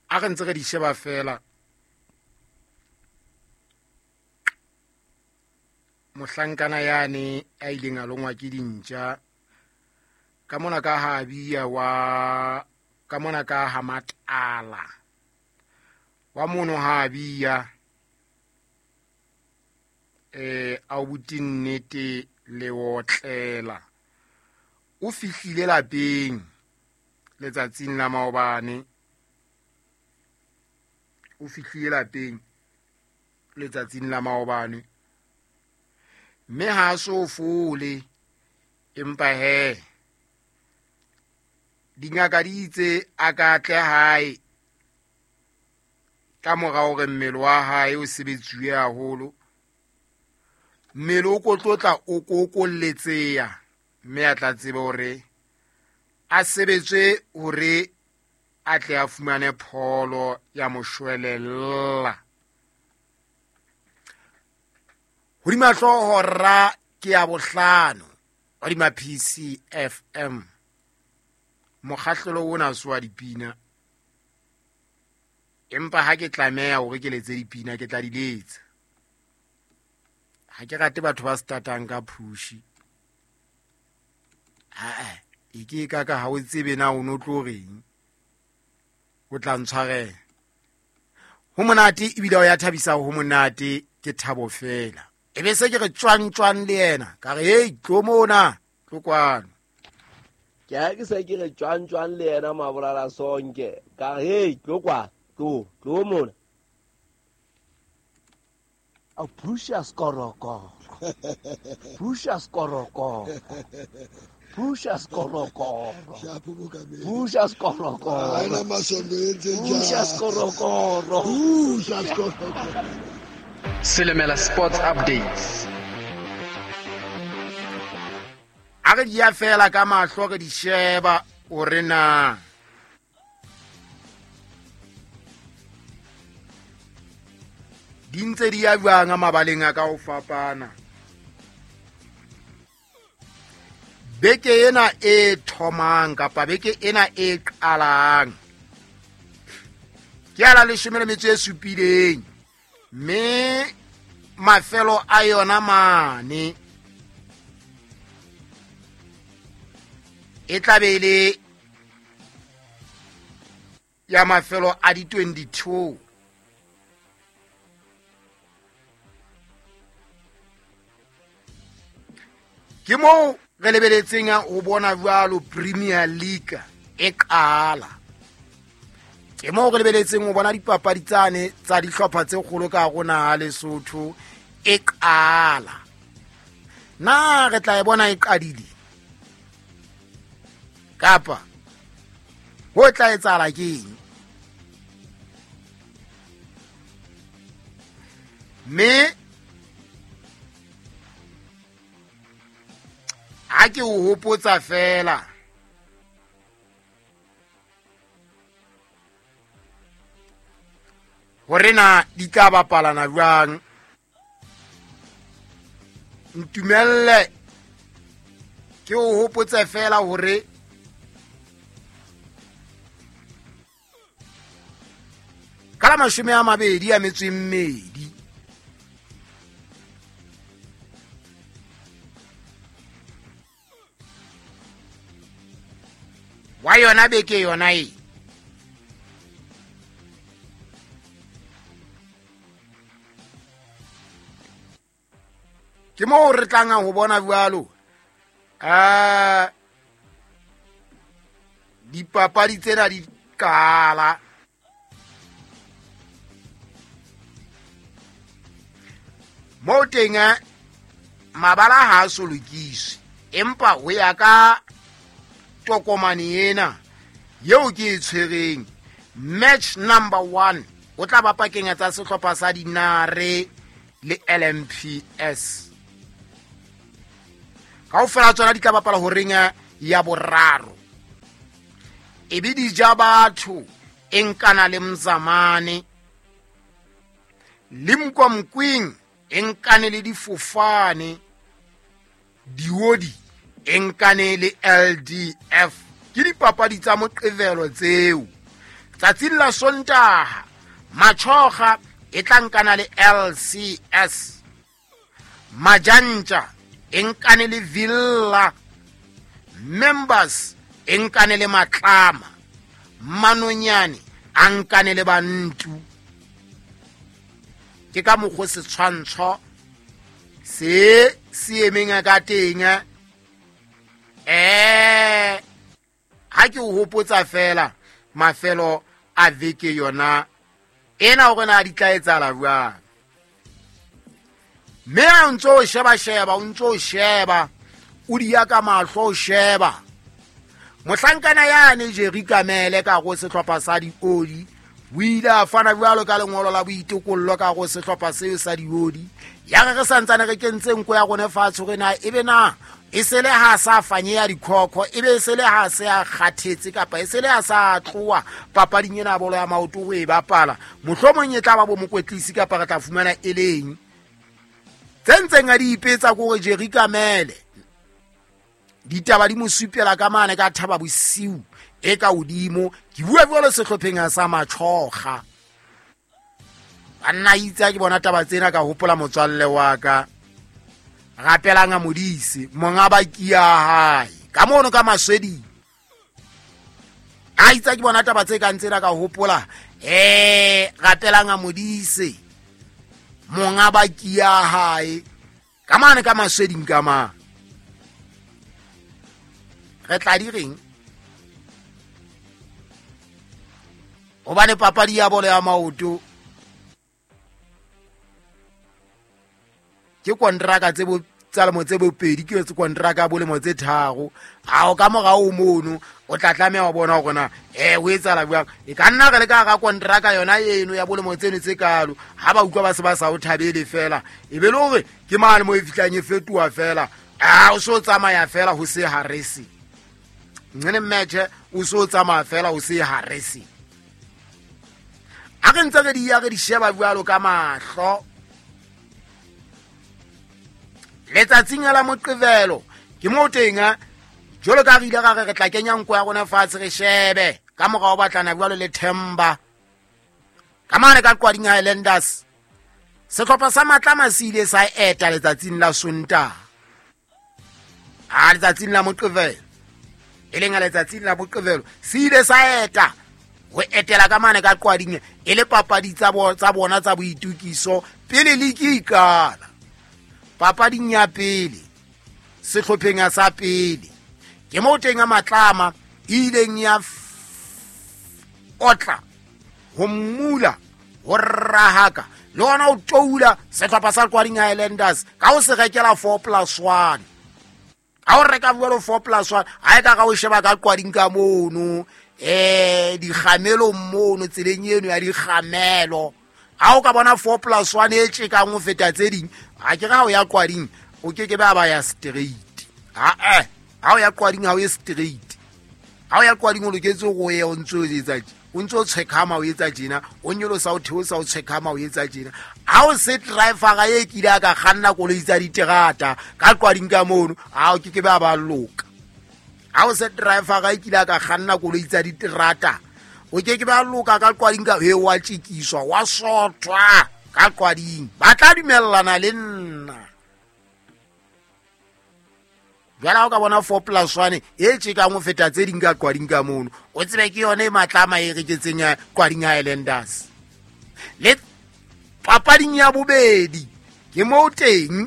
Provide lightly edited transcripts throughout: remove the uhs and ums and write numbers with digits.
A re ntse re di sheba fela, mohlankana yane a ileng a longwa ke dintja ka mona ka habia wa ka mona ka hamatala wa mono habia a o buti nnete le otlela o fihlile lapeng letsatsing la maobane, o fihlile lapeng letsatsing la maobane, mme ha so fole, empa he dingaka di itse a ka tle hae ka mora hore mmele wa hae o sebetsuwe haholo, mmele o kotlotla o kokolletseya, mme a tla tsebe hore a sebetswe hore a tle a fumane pholo ya moshwelella. Hodima hlooho ra ke ya bohlano hodima PCFM, mokgahlelo ona se wa dipina, empa ha ke tlameha hore ke letse dipina ke tla di letsa. Ha ke rate batho ba startang ka phushi. Ha e ke ka ka ha o tsebe na o no tlo reng, o tla ntshwarela. Ho monate ebile o ya thabisa, ho monate ke thabo fela. E be se ke re tjwang tjwang le yena, ka re hey tlo mona, tlo kwano. Ke ha ke se ke re tjwang tjwang le yena Mabolala Sonke, ka re hey tlo kwa, tlo, tlo mona. A phusha skorokoro, phusha skorokoro, phusha skorokoro, phusha skorokoro, phusha skorokoro, phusha skorokoro. Selemela Sports Updates. A re di ya fela ka mahlo re di sheba hore na di ntse di ya jwang mabaleng a ka ho fapana. Beke ena e thomang kapa beke ena e qalang ke ya la 17, mme mafelo a yona mane e tla be e le ya mafelo a di 22. Ke moo re lebeletseng ho bona jwalo Premier League e qala. Ke moo re lebeletseng ho bona dipapadi tsane tsa dihlopha tse kgolo ka hare ho naha Lesotho e qala. Na re tla e bona e qadile kapa ho tla etsahala ke eng? Mme ha ke o hopotsa fela hore na di tla bapalana jwang, ntumelle ke o hopotse fela hore ka la 22 wa yona beke yona e ke moo re tlang ho bona jwalo dipapadi tsena di qala. Moo teng mabala ha a so lokiswe, empa ho ya ka tokomane ena eo ke e tshwereng, match number 1 o tla ba pakeng tsa sehlopha sa Dinare le LMPS. Kaofela tsona di tla bapala horeng ya boraro. E be di ja batho e nkana le Mzamane, le Mkwamkwing e nkane le difofane, Diodi e nkane le LDF. Ke dipapadi tsa Moqebelo tseo Tsatsing la Sontaha Machoga e tla nkana le LCS, Majantja e nkane le Villa, Members e nkane le Matlama, Manonyane a nkane le Bantu. Ke ka mokgwa setshwantsho se se emeng ka teng. Ha ke o hopotsa fela mafelo a veke yona ena hore na di tla etsahala jwang. Mme ha o ntso o sheba-sheba, o ntso o sheba, o di ya ka mahlo o sheba. Mohlankana yane Jerry Kamele ka go sehlopha sa Diodi o ile a fana jwalo ka lengolo la boitokollo ka go sehlopha seo sa Diodi. Ya re re santsane re kentse nko ya rona fatshe hore na ebe na e se le ha sa fanyeya dikhokho, ebe e se le ha se a kgathetse kapa e se le ha sa tloha papading ena ya bolo ya maoto ho e bapala, mohlomong e tla ba bo mokwetlisi kapa re tla fumana e leng. Tse ntseng a di ipetsa ke hore Jerry Kamele ditaba di mo supela ka mane ka Thaba Bosiu e ka hodimo. Ke bua jwalo sehlopheng sa Machoga. Banna itse ke bona taba tsena ka hopola motswalle wa ka Rapelang a Modise, monga baki ya hae ka mono ka Masweding. A itse ke bona taba tse kang tsena ka hopola Rapelang a Modise, monga baki ya hae ka mane ka Masweding ka mane. Re tla di reng? Hobane papadi ya bolo ya maoto ke kontraka tse bo tsa lemo tse bopedi, ke tse kontraka bo lemo tse tharo. Ha o ka morao mono o tla tlameha ho bona hore na o etsahala jwang. E ka nna re le ka hara kontraka yona eno ya bolemo tseno tse kalo, ha ba utlwa ba se ba sa o thabele fela, e be le hore ke mane mo e fihlang e fetoha fela. A o so tsamaya fela ho se harese. Nqene match o so tsamaya fela ho se harese. A re ntse re di ya re di sheba jwalo ka mahlo. Letsatsing la Moqebelo ke mo teng jwalo ka re ile ra re re tla kenya nko ya rona fatshe re shebe ka morao batlana jwalo le Themba ka mane ka Qwading Highlanders. Sehlopha sa Matlama se ile sa eta letsatsing la Sontaha, a letsatsing la Moqebelo, e leng letsatsing la Moqebelo se ile sa eta ho etela ka mane ka Qwading e le papadi tsa bona tsa boitukiso pele ligi e qala. Papading ya pele sehlopheng sa pele ke mo teng a Matlama e ileng ya otla ho mmula ho rahaka le hona ho toula sehlopha sa Qwading Highlanders ka ho se rekela 4+1. Ha o reka jwalo 4+1, ha e ka ka o sheba ka Qwading ka mono, dikgamelong mono tseleng eno ya dikgamelo, ha o ka bona 4+1 e tjekang ho feta tse ding, ha ke re ha o ya Qwading o ke ke ba ba ya straight. Ha o ya Qwading ha o ye straight. Ha o ya Qwading o loketse go ye o ntse o etsa tje, o ntse o tshwekhama o etsa tjena, o nyolosa o theosa o tshwekhama o etsa tjena. Ha o se driver e kile a ka kganna koloi tsa diterata ka Qwading ka mono, ha o ke ke ba ba loka. Ha o se driver e kile a ka kganna koloi tsa diterata, o ke ke ba loka ka Qwading ka he wa tjekiswa wa sothwa ka Qwading. Ba tla dumellana le nna. Jwale ha o ka bona 4+1 e tjekang ho feta tse ding ka Qwading ka mono, o tsebe ke yona e Matlama e reketseng ya Qwading Highlanders. Le papading ya bobedi ke moo teng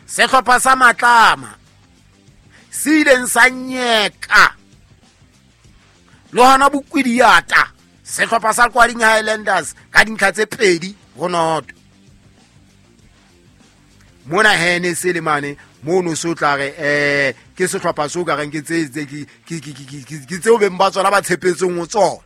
sehlopha sa Matlama se ileng sa nyeka le hona bokwidiata sehlopha sa Qwading Highlanders ka dintlha tse 2-0. Mona hene se le mane mono so tla re ke sehlopha so ka reng ke tse ke tseo beng ba tsona ba tshepetseng ho tsona,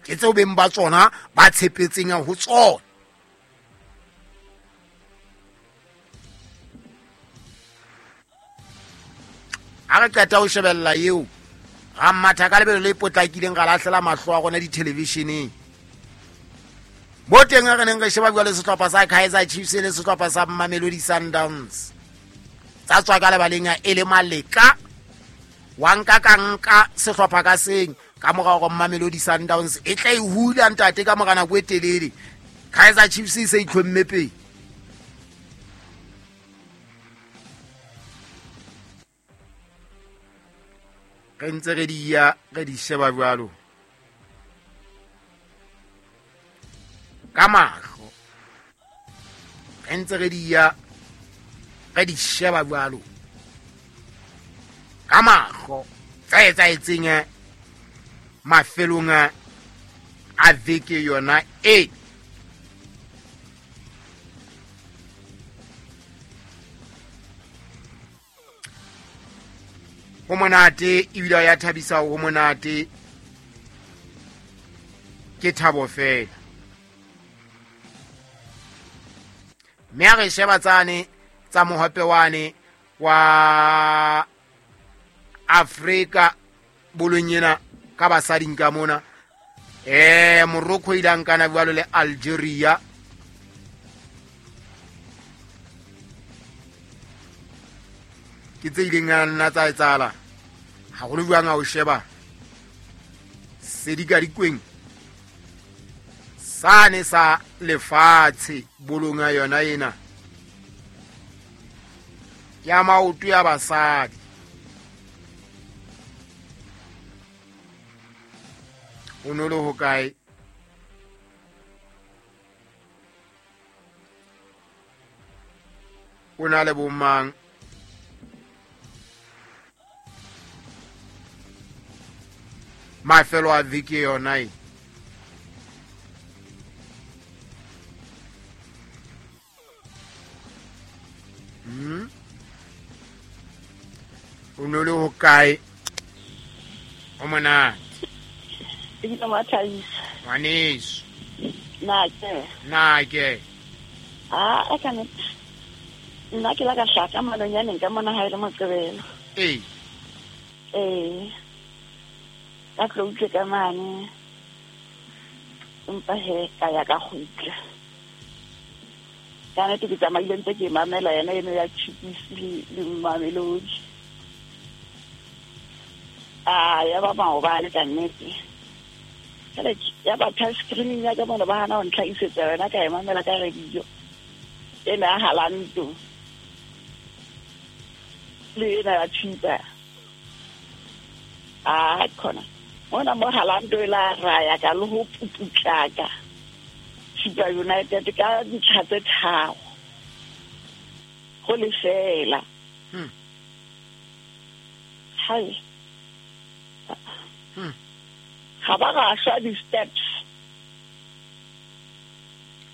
ke tseo beng ba tsona ba tshepetseng ho tsona. Ha re qeta ho shebella eo, ra matha ka lebelo le potlakileng, ra lahlela mahlo a rona dithelevisheneng. Mo teng re neng re sheba jwale sehlopha sa Kaizer Chiefs le sehlopha sa Mamelodi Sundowns tsa tswa ka lebaleng e le maleka Wa nka ka nka sehlopha ka seng ka mora hore Mamelodi Sundowns e tla e hula ntate ka mora nako e telele. Kaizer Chiefs e se itlhomme pele. Re ntse re di ya re di sheba jwalo ka mahlo, re ntse re di ya re di sheba jwalo ka mahlo tse etsahetseng mafelong a veke yona e. Ho monate ebile ya thabisa, ho monate ke thabo fela. Mme a re sheba tsane tsa mohope wane wa Afrika bolong ena ka basading ka mona. Morocco ile a nkana jwalo le Algeria. Ke tse ileng a nna tsa etsahala haholo jwang ha o sheba sedikadikweng sane sa lefatshe bolong ya yona ena ya maoto ya basadi. O no le hokae? O na le bomang? Mafelo a veke yona e. O no le hokae? O monate. Ebile wa thabisa. Ngwaneso. Nna ke. A ka nnete. Nna ke la ka hlaka manonyaneng ka mona ha e le Moqebelo. Ee. Ee. Ka tlo utlwe ka mane. Empa he ka ya ka kgutla. Ka nnete ke tsamaile ntse ke mamela yena eno ya Chiefs le Mamelodi. A ya ba maobane ka nnete. Ya ba touch screening ya ka mona ba hana ho ntlhahisetsa yona ka e mamela ka radio. Ena ya Halanto le ena ya Chipa. A khona mona mo Halanto e la raya ka le ho puputlaka Chipa United ka ntlha tse 3 go lefela. Hai. Ga ba ga shwa di-steps.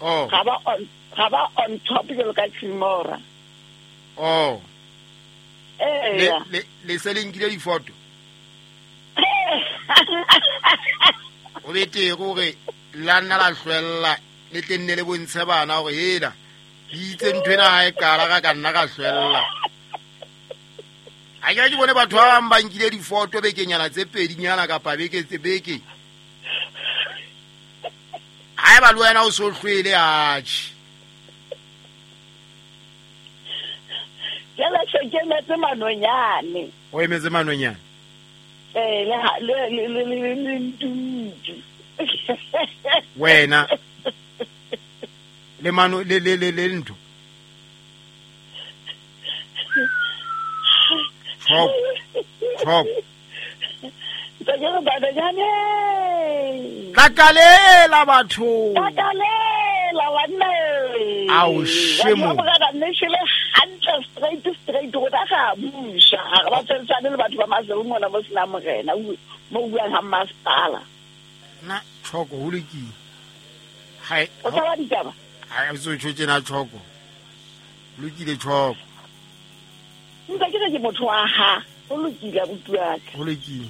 Oh. Ga ba on top jalo ka Tshimora. Oh. Ee. Le se le nkile difoto. O bete gore la nna la hlwella le tle nne le bontshe bana gore hela le itse ntho ena ha e qala ka nna ka hlwella. A ke bone batho ba bang ba nkile difoto bekenyana tse pedinyana kapa beke tse beke. Ha eba le wena o so hlwele atjhe. Jala se ke emetse manonyane. O emetse manonyane? Ee, le ntutu. Wena le mano le le le le ntho. Chop. Chop. Takalela batho. Takalela banna. Ao shemo. Straight go ta ga busha. Ga ba tsetsane le batho ba Mazulu mona mo sena morena mo buang ha masipala. Na choko ho lokile. Hai. O tla ditaba. Hai so tshotse na choko. Lokile choko. Nka ke re motho wa ha. O lokile abuti wa ka. Ho lokile.